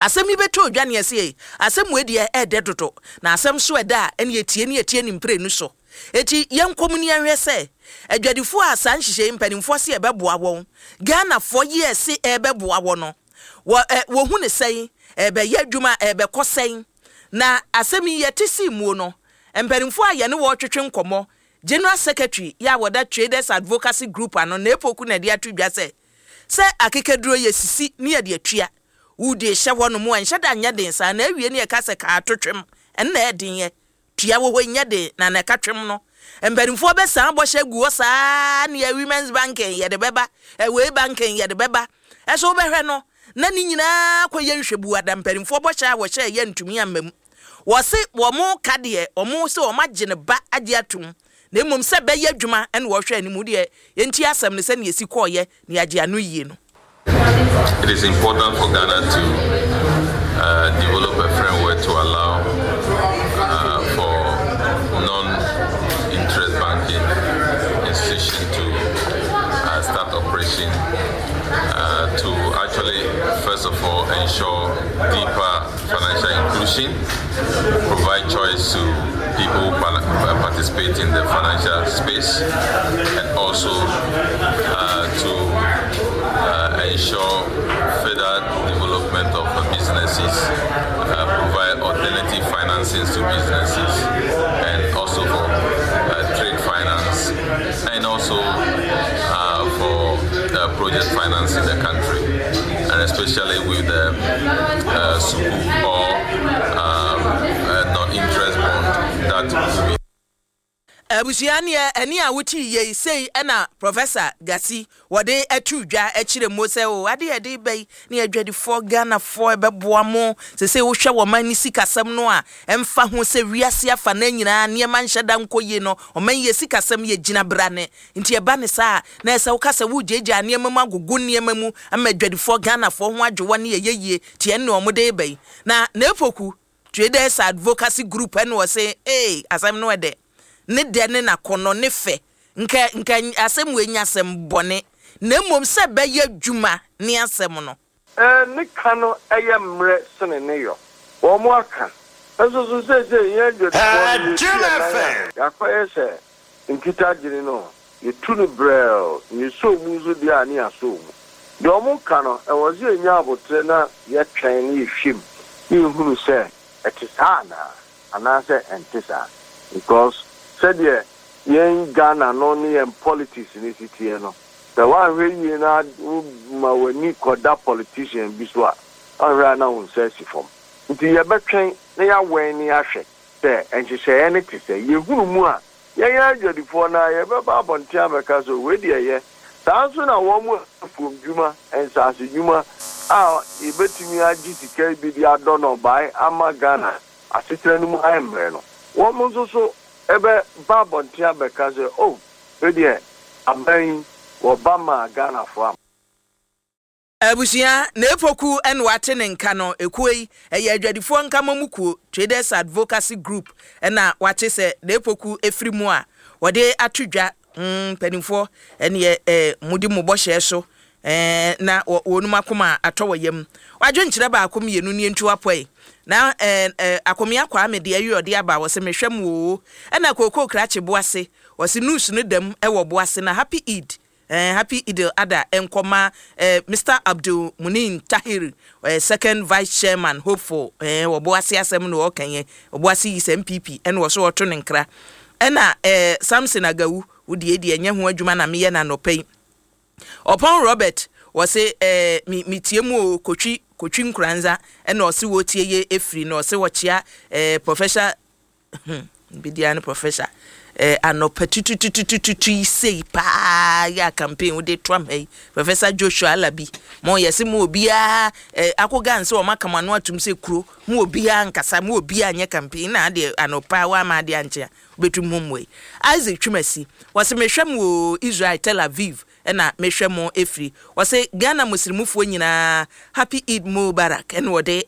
Asɛm yi bɛtɔ odwa ne yɛse ei, asɛm wei deɛ ɛɛdɛ dodo, na asɛm so ɛdɛ a ɛne yɛtie ne yɛtie ne mprenu so. Enti yɛnkɔ mu ne yɛnhwɛ sɛ adwadifoɔ a saa nhyehyɛɛ yi mpanimfoɔ se ɛbɛboa wɔn, Ghanafoɔ yi a ɛse ɛrebɛboa wɔ no, wɔ ɛ, wɔhu no sɛn? Ɛrebɛyɛ adwuma a, ɛrebɛkɔ sɛn? Na asɛm yi yɛte sii muo no, mpanimfoɔ a yɛne wɔn retwetwe nkɔmmɔ, General Secretary yi a wɔda Traders Advocacy Group ano, Naepoku na ɛde ato dwa sɛ, sɛ akekaduro yɛsisi ne yɛde atua, Wo de hyɛ hɔ nom a, ɛnhyɛ da nyɛ den saa, na awie no yɛka sɛ kaa to twem, ɛno na ɛyɛ den yɛ. Tua wɔ hɔ nyɛ den, na na ɛka twem no. Mpanimfoɔ bɛsan bɔhyɛ agu hɔ saa neɛ women's banking yɛde bɛba, wei banking yɛde bɛba. Ɛso wobɛhwɛ no, na ne nyinaa kɔyɛ nhwɛbuada, mpanimfoɔ bɔhyɛ a wɔhyɛɛ yɛ ntumi amma mu. Wɔse wɔn ka deɛ, wɔn se wɔn agye ne ba agye atom, na mmom sɛ bɛyɛ adwuma na wɔhwɛ anim. Wo deɛ yɛntie asɛm no sɛdeɛ ɛsi kɔɔeɛ na yɛagye ano yie no. It is important for Ghana to uh, develop a framework to allow uh, for non-interest banking institution to uh, start operation uh, to actually, first of all, ensure deeper financial inclusion, provide choice to people who uh, participate in the financial space, and also uh, to uh, ensure further development of businesses, uh, provide alternative financings to businesses, and also for uh, trade finance, and also uh, for project finance in the country, and especially with the uh, sukuk or um, non-interest bond that will be Abusua neɛ ɛne a wote yei sei ɛna Professor Gasi wɔde ato dwa akyerɛ mo sɛ o ade a yɛde ba yi ne adwadifoɔ Ghanafoɔ ɛbɛboa mo sesei wohwɛ wɔ man ne sikasɛm no a ɛmfa ho sɛ wiase afa no nyinaa nneɛma nhyɛ da nkɔ yie no ɔman yɛ sikasɛm yɛ gyina brane nti ɛba ne saa a na ɛsɛ woka sɛ wogyaagyaa nneɛma mu agogo nneɛma mu ama adwadifoɔ Ghanafoɔ ho adwo wɔn ne ɛyɛ yie nti ɛne wɔn de ba yi na Naepoku Traders Advocacy Group ɛna ɔse ee asɛm no ɛdɛ ne dɛ ne n'akɔnnɔ ne fɛ nka nka asɛm wei nyɛ asɛm bɔne na mmom sɛ ɛbɛyɛ adwuma ne asɛm no. Ne ka no yɛ mmerɛ sene ne yɔ. Wɔn aka. Nso so seesei yɛn adwadifoɔ no yɛtu yɛn nan a, yɛakɔyɛ sɛ nkitagyene no, yɛtu no brɛoo, na yɛsɔ mu nso deɛ a ne yɛasɔ mu. Deɛ wɔka no, ɛwɔ sɛ yɛnya aboterɛ na yɛtwɛn na yɛhwɛ mu na yɛhunu sɛ ɛte saa anaa, anaasɛ ɛnte saa. Because sɛdeɛ yɛn Ghana no ne yɛn politics no si teɛ no, sɛ woanhwɛ yie na woma w'ani kɔda politician bi so a, woanhwɛ a na wo nsa asi fam. Nti yɛbɛtwɛn na yɛawɛn na yɛahwɛ sɛ nhyehyɛeɛ no te sɛn. Yɛhunu mu a, yɛn adwadifoɔ no ara yɛbɛba abɔnten abɛka sɛ wei deɛ ɛyɛ. Saa ara nso na wɔn a afuomdwuma, nsasedwuma a yɛbɛtumi agye sika yi bi de adɔ nnɔbae ama Ghana asetena no mu ayɛ mmerɛ no, wɔn nso so bɛba abɔnten abɛka sɛ oh, wei deɛ aban yi wɔba maa Ghanafoɔ ama. Abusua, Naepoku na wate ne nka no, ekuo yi, ɛyɛ adwadifoɔ nkamɔmu kuo, Traders Advocacy Group, na wate sɛ Naepoku firi mu a, wɔde ato dwa, mm, mpanimfoɔ, ɛneɛ eh, modi mo bɔhyɛɛ so, eh, na wɔ, wɔnom akoma atɔ wɔ yam. Wadwenkyerɛ baako mmienu nie nti wapɔe. Na eh, eh, Akomea Kwame deɛ awie ɔde aba, wɔse mehwɛ mo oo. Ɛna Kookoo Krakye Boase, wɔse news no dam wɔ Boase na Happy Eid. Eh happy Idil Adha nkɔ ma eh Mister Abdul Munin Tahir eh second vice chairman hopeful eh wɔ Boase asɛm na ɔɔka yi Obuasi yi sɛ NPP ɛna ɔso ɔɔto ne nkra ɛna eh Samson Agawu wo deɛ deɛ ɛnyɛ ho adwuma na meyɛ no anɔpa yi Ɔpɔn Robert wɔse eh me me tie mu o Kotwi Kotwi Nkoranza ɛna ɔse wɔtie ye efiri na ɔse ɔkyea eh Professor Hmm, bedi ano professor. Eh, anɔpa tutututututu yi sei paa yɛ a campaign wode to ama yi. Professor Joshua Alabi, mo yɛse mo obiara eh, akoga nse wɔn aka mo ano atum sɛ kuro, mo obiara nkasa, mo obiara nyɛ campaign na adeɛ anɔpa wama adeɛ ankye a wobɛtu mo mmoa yi. Isaac Twumasi, wɔse mehwɛ mo o Israel Tel Aviv ɛna mehwɛ mo efiri. Wɔse Ghana muslimufoɔ nyinaa Happy Eid Mubarak ɛna wɔde.